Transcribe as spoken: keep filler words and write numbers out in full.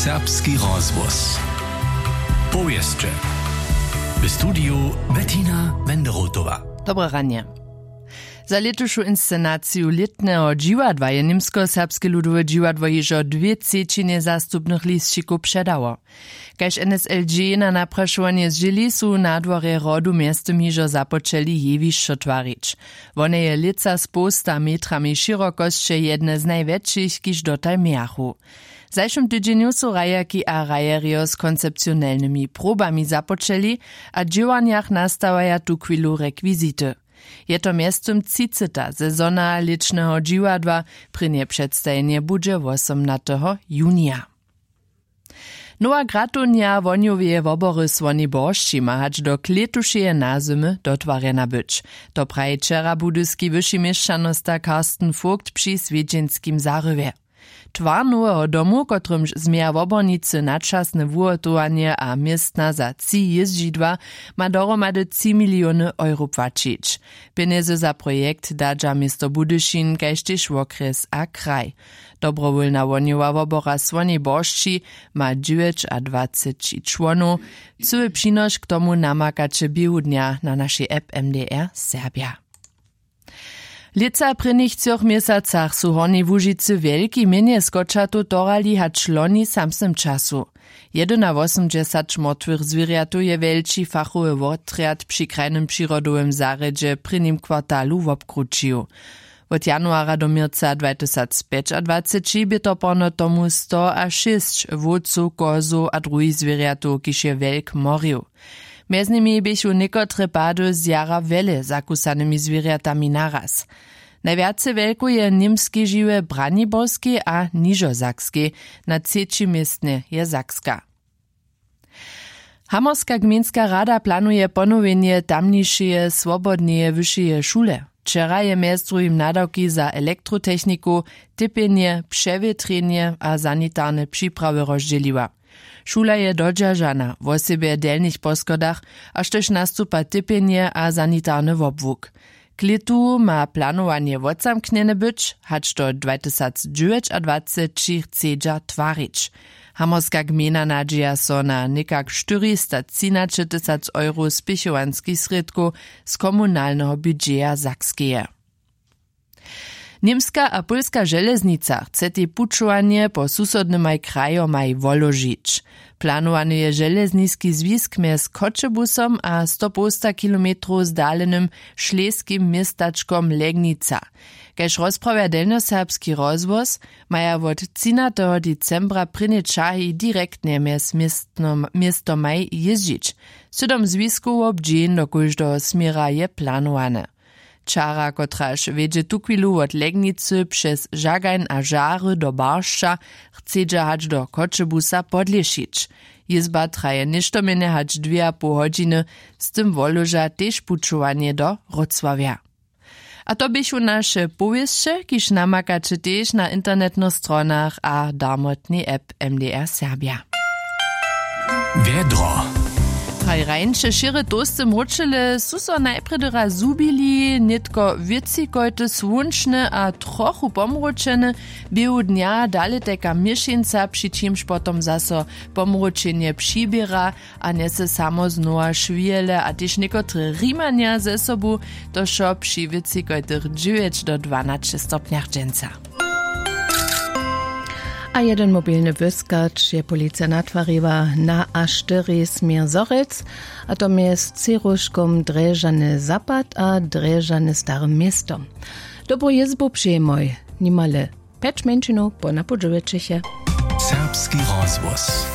Serbski rozhłos. Powěsće. W studiju Bettina Wenderotowa. Dobre ranje. Za lětušu inscenaciju lětneho dźiwadła je němskoserbske ludowe dźiwadło hižo dwě třećinje zastupnych lisćikow předało. Kaž N S L G na naprašowanje zdźěli, su na dworje hrodu mjeztym hižo započeli jewišćo twarić. Wone je lětsa z połsta metrami šěrokosće jedne z najwjetšich, kiž dotal mějachu. W zašłym tydźenju su hrajerki a hrajerjo z koncepcionelnymi probami započeli a w dźěłarnjach nastawaja tuchwilu rekwizity. Je to mjeztym třiceta sezona lětšneho dźiwadła. Prěnje předstajenje budźe wosomnateho junija. Nowa gratownja wohnjoweje wobory słoni boršći ma hač do klětušeje nazymy dotwarjena być. To praji wčera budyski wyši měšćanosta Carsten Vogt při swjedźenskim zarywje. Twar noweho domu, kotrymž změja wobornicy, načasne wuhotowanje a městna za tři jězdźidła, ma dohromady tři miliony euro płaćić. Pjenjezy za projekt dadźa město Budyšin kaž tež wokrjes a kraj. Dobrowólna wohnjowa wobora słoni boršći ma dźewjećadwaceći čłonow. Cyły přinoš k tomu namakaće běhu dnja na našej app M D R Serbja. Lětsa w prěnich třoch měsacach su w Hornjej Łužicy wjelki mjenje skočatow torali hač loni w samsnym času. Jedynawosomdźesać mortwych zwěrjatow je wjelči fachowy wotrjad při krajnym přirodowym zarjedźe w prěnim kwartalu wobkrućił. Wot januara do měrca dwatysacpjećadwaceći bě toporno tomu stoašěsć wowcow, kozow a druhich zwěrjatow, kiž je wjelk morił. Mjez nimi běchu někotre pady z jara wjele zakusanymi zwěrjatami naraz. Najwjace wjelkow je w němskej žiwje w Braniborskej a Nižosaskej, na třećim městnje je Sakska. Hamorska gmejnska rada planuje ponowjenje tamnišeje swobodneje wyšeje šule. Wčera je mjez druhim nadawki za elektrotechnikow, typjenje, přewětrjenje a sanitarne připrawy rozdźěliła. Šula je dodźeržana, wosebje w delnich poschodach, a štož nastupa typjenje a sanitarny wobłuk. K lětu ma planowanje wotzamknjene być, hač do dwatysacdźewjećadwaceći chcedźa twarić. Hamorska gmejna nadźija so na někak štyristotřinaćetysac euro spěchowanskich srědkow z komunalneho budźeja Sakskeje. Němska a pólska železnica chce tej pućowanje po susodnymaj krajomaj woložić. Planowany je železniski zwisk mjez Choćebusom a stopołsta kilometrow zdalenym šleskim městačkom Legnica. Kaž rozprawja delnjoserbski rozhłos, maja wot třinateho decembra prěnje čahi direktnje mjez městnom- městomaj jězdźić. Sydom zwiskow wobdźeń do kóždeho směra je planowane. Čara, kotraž wjedźe tuchwilu wot Legnicy přez Žagajn a Žary do Baršća, chcedźa hač do Choćebusa podlěšić. Jězba traje něšto mjenje hač dwě a poł hodźiny, z tym woloža tež pućowanje do Wrocławja. A to běchu naše powěsće, kiž namakaće tež na internetnych stronach a darmotnej app M D R Serbja. Wjedro. Haj, rańše šěry tołsty mróčele su so najprjedy raz zhubili, nětko wětřikojty słónčne a trochu pomróčene, běhu dnja dale tajka měšeńca, při čimž potom zaso pomróčenje přiběra a njese samo znowa šwěle a tež někotre rimanja ze sobu, to wšo při wětřikojtych dźewjeć do dwanaće stopnjach dźensa. A jedyn mobilny wyskać je policija natwariła na A štyri směr Zhorjelc, a to mjez třěruškom Drježany Zapad a Drježany Stare Město. Dobru jězbu přejemoj, nimale pjeć mjeńšinow po napoł dźewjećich je. Serbski rozhłos.